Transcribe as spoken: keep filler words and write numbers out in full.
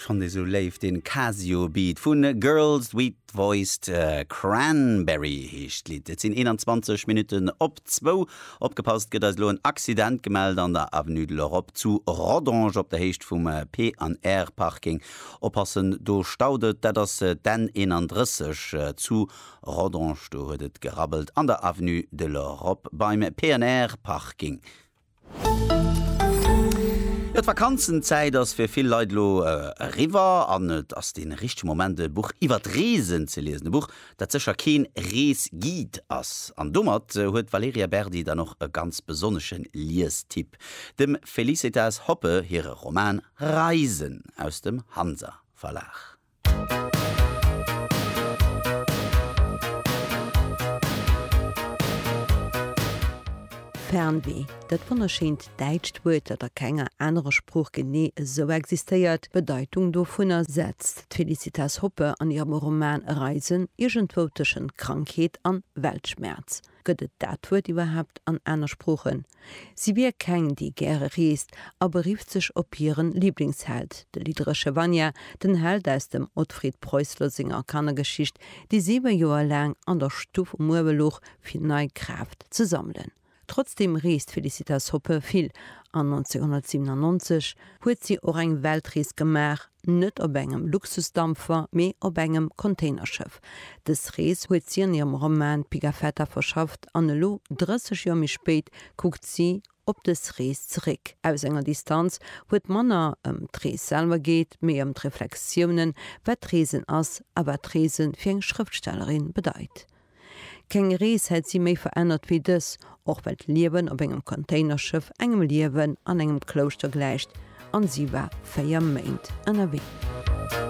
Fannen dee sou léif, den Casio Beat vun Girls Sweet Voiced Cranberry heescht d'Lidd. Et sinn eenanzwanzeg Minutten op zwou. Opgepasst, gëtt eis elo en Accident gemellt an der Avenue de l'Europe zu Rodange op der Héicht vum P an R Parking. Oppassen, do staut et. Dat ass d'N eenanddrësseg zu Rodange. Do huet et gerabbelt an der Avenue de l'Europe beim P an R Parking. Jo, d'Vakanzenzäit ass fir vill Leit elo eriwwer an et ass dee richtege Moment e Buch iwwer d'Reesen ze liesen. E Buch, dat sécher keen Reesguide ass. An domat huet d'Valerija Berdi dann och e ganz besonnesche Liestipp, dem Felicitas Hoppe hire Roman Reisen aus dem Hansa Verlag. Fernweh, dat wonnerschéint däitscht Wuert, dat a kenger anerer Sprooch genee esou existéiert, d'Bedeitung dovunner setzt d'Felicitas Hoppe an hirem Roman Reisen iergendwou tëschent Krankheet an Weltschmerz. Gëtt et dat Wuert iwwerhaapt an aner Sproochen? Si wier keng, déi gäre reest a berifft sech op hiren Liblingsheld, de lidderesche Vanya, den Held aus dem Otfried Preußler senger Kannergeschicht, dee siwe Joer laang an der Stuff um Uewe louch, fir nei Kraaft ze sammelen. Trotzdeem reest d'Felicitas Hoppe vill an nonzénhunnertsiwenannonzeg huet si och eng Weltrees gemaach, net op engem Luxusdampfer, mee op engem Containerschëff. Dës Rees huet si an hirem Roman Pigafetta verschafft an elo, drësseg Joer méi spéit, kuckt si op dës Rees zeréck aus enger Distanz, wou et manner ëm d'Rees selwer geet, mee ëm d'Reflexiounen, wat d'Reesen ass a wat d'Reese fir eng Schrëftstellerin bedeit. Keng Rees hätt si méi verännert wéi dës, och well d'Liewen op engem Containerschëff engem Liewen an engem Klouschter gläicht, an si war véier Méint ënnerwee.